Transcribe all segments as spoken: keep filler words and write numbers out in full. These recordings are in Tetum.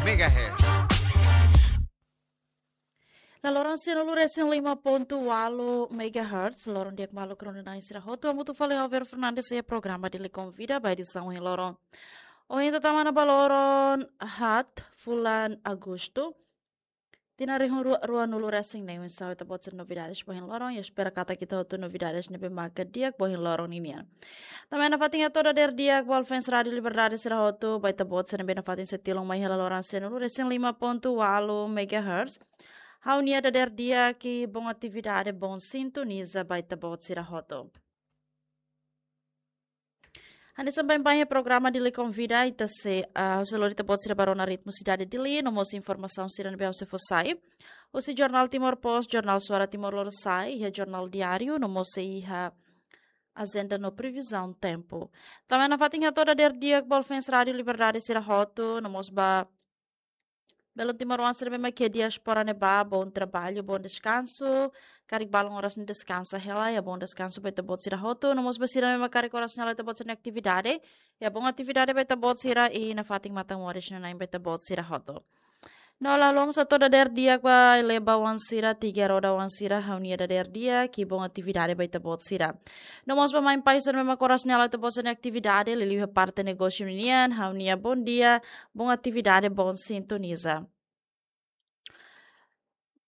Megahertz. La loron sianulu resin lima pontu walu megahertz, loron di'ak maluk rona-na'in sira hotu, hamutuk fali ho Vero Fernandes iha programa Dili Konvida ba edisaun ohin loron. Ohin ita tama ona ba loron haat fulan Agostu. Tinan rihun rua, ruanulu resin neen, oinsá ita-boot sira novidades ba ohin loron, i espera katak ita hotu novidades ne'ebé maka di'ak ba ohin loron ninian. Tanba ne'e nafatin hato'o dadeer di'ak ba fans Rádio Liberdade sira hotu, ba ita-boot sira ne'ebé nafatin sei tilun mai iha la loron sianulu resin lima pontu walu megahertz. Ha'u-nia dadeer di'ak i bom atividade, bom sintoniza ba ita-boot sira hotu. Hanesan baibain iha programa Dili Konvida, ita sei, ah, ha'u sei lori ita-boot sira ba rona ritmu sidade Dili, no mós informasaun sira ne'ebé ha'u sei fó sai. Husi Jornál Timor Post, Jornál Suara Timor Lorosa'e, iha Jornál Diáriu, no mós sei iha ajenda no previzaun tempu. Tanba ne'e nafatin hato'o dadeer di'ak ba fans Rádio Liberdade sira hotu, no mós ba belun timoroan sira ne'ebé mak iha diáspora ne'ebá, bom trabalho, bom descanso. Karik balun oras ne'e deskansa hela, iha bom descanso ba ita-boot sira hotu. No mós ba sira ne'ebé mak karik oras ne'e halo ita-boot sira-nia atividade, iha bom atividade ba ita-boot sira, i nafatin matan moris nanain ba ita-boot sira hotu. No la haluha mós hato'o dadeer di'ak ba leba-oan sira, tiga roda-oan sira, ha'u-nia dadeer di'ak i bom atividade ba ita-boot sira. No mós ba mãe pai sira ne'ebé mak oras ne'e halo ita-boot sira-nia atividade, liuliu iha parte negósiu ninian, ha'u-nia bom dia, bom atividade, bom sintoniza.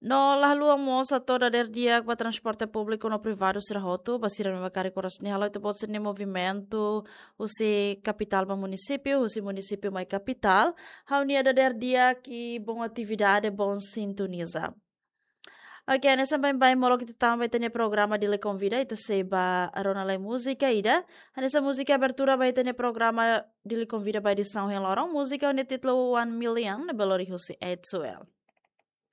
No la haluha mós hato'o dadeer di'ak ba transporte públiku no privadu sira hotu, ba sira ne'ebé mak karik oras ne'e halo ita-boot sira-nia movimentu husi kapitál ba munisípiu, husi munisípiu mai kapitál, ha'u-nia dadeer di'ak i bom atividade, bom sintoniza. Oke, hanesan baibain molok ita tama ba ita-nia programa Dili Konvida, ita sei ba rona lai múzika ida. Hanesan múzika abertura ba ita-nia programa Dili Konvida ba edisaun ohin loron, múzika ho nia títulu One Million, ne'ebé lori husi Ed Suel.